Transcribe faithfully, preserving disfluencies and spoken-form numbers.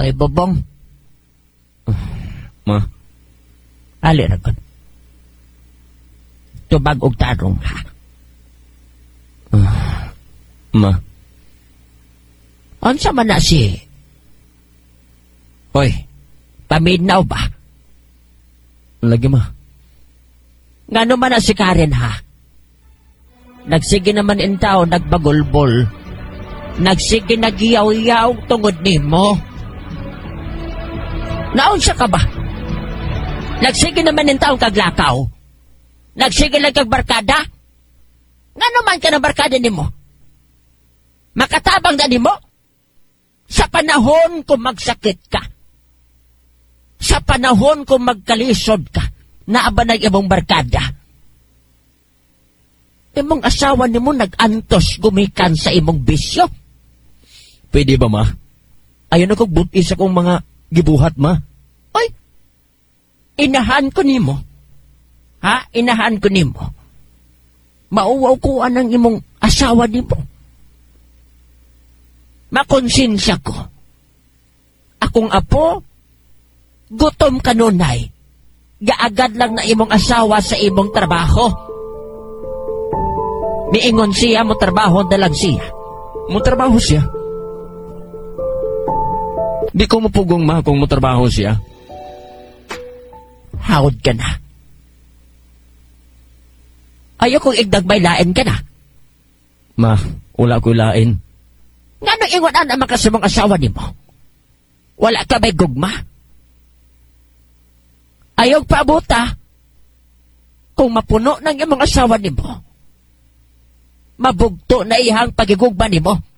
Ay, Bobong. Ma, Ali ra gud. Tubag og tarong, ha? Ma. Unsa man na si? Hoy, paminaw ba? Lagi, ma. Ngano man na si Karen, ha? Nagsige naman intaw, nagbagulbol. Nagsige nagyaw-yaw tungod nimo. Naunsa ka ba? Nagsige naman intaw kaglakaw. Nagsige lang kag barkada. Ngano man ka ng barkada nimo? Makatabang na nimo? Sa panahon kung magsakit ka, sa panahon kung magkalisod ka, naa ba nang imong barkada? Imong asawa nimo nag-antos gumikan sa imong bisyo. Pwede ba, ma? Ayaw na kong buti sa kong mga gibuhat, ma. Oy, inahan ko nimo. Ha? Inahan ko nimo. Mauwaw ko anang imong asawa nimo. Makonsensya ko. Akong apo, gutom kanunay. Gaagad lang na imong asawa sa imong trabaho. Miingon siya mo trabaho na lang siya. Mo trabaho siya. Di ko mapugong, ma, kung mo trabaho siya. Hawd ka na. Ayaw kong igdagbay lain ka na. Ma, wala ko lain. Ngano ingon ana makasamang asawa nimo? Wala ka ba'y gugma? Ayaw paabuta. Kung mapuno ng imong asawa nimo, mabugto na ihang pagigugma nimo.